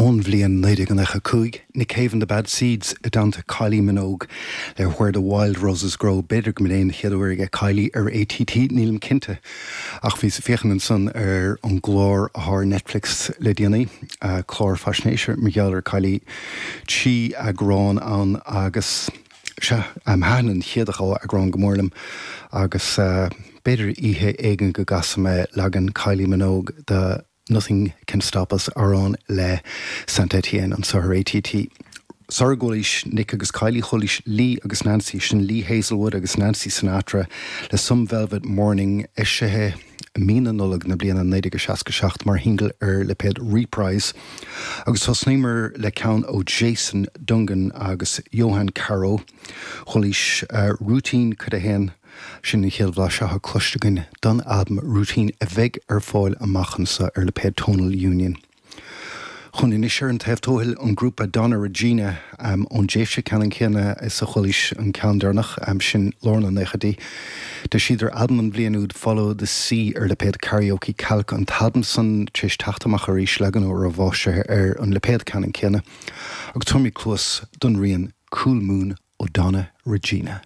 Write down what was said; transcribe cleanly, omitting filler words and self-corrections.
ón bhliain 1995, Nick Cave and the Bad Seeds i dteannta Kylie Minogue le Where the Wild Roses Grow. B'fhéidir go mb'in é an chéad uair aige Kylie ar ATT, nílim cinnte. Ach bhíos ag féachaint ansan ar an gclár atá ar Netflix le déanaí, clár faisnéise mar gheall ar Kylie, 3 eagrán ann agus sea, thaitin an chéad dhá eagrán go mór liom agus b'fhéidir oíche éigin go gcasfaidh mé leagan Kylie Minogue de Nothing Can Stop Us, amhrán le Saint Etienne anseo ar ATT. Sara gcualaís Nick agus Kylie, chualaís Lee agus Nancy, sin Lee Hazlewood agus Nancy Sinatra le Some Velvet Morning, eisithe i mí na Nollag na bliana 1967 mar shingil ar lipéad Reprise. Agus thosnaíomar le ceann ó Jason Dungan agus Johan Caro. Chualaís Routine Cuid 1. Sin an chéad bhlaiseadh atá cloiste againn don albam Routine a bheidh ar fáil amach anseo ar lipéad Tonal Union. Chugainn anois ar an taobh tuathail, an grúpa Donna Regina ón dtréimhse ceannann céanna is a chualaís an ceann deireanach, sin lár na naochaidí. D'eisíodar albam an bhliain úd Follow the Sea ar lipéad Karaoke Kalk, an t-albam san tar éis teacht amach arís, leagan úr remastered ar an lipéad ceannann céanna. Agus tabharfaimid cluas don rian Cool Moon ó Donna Regina.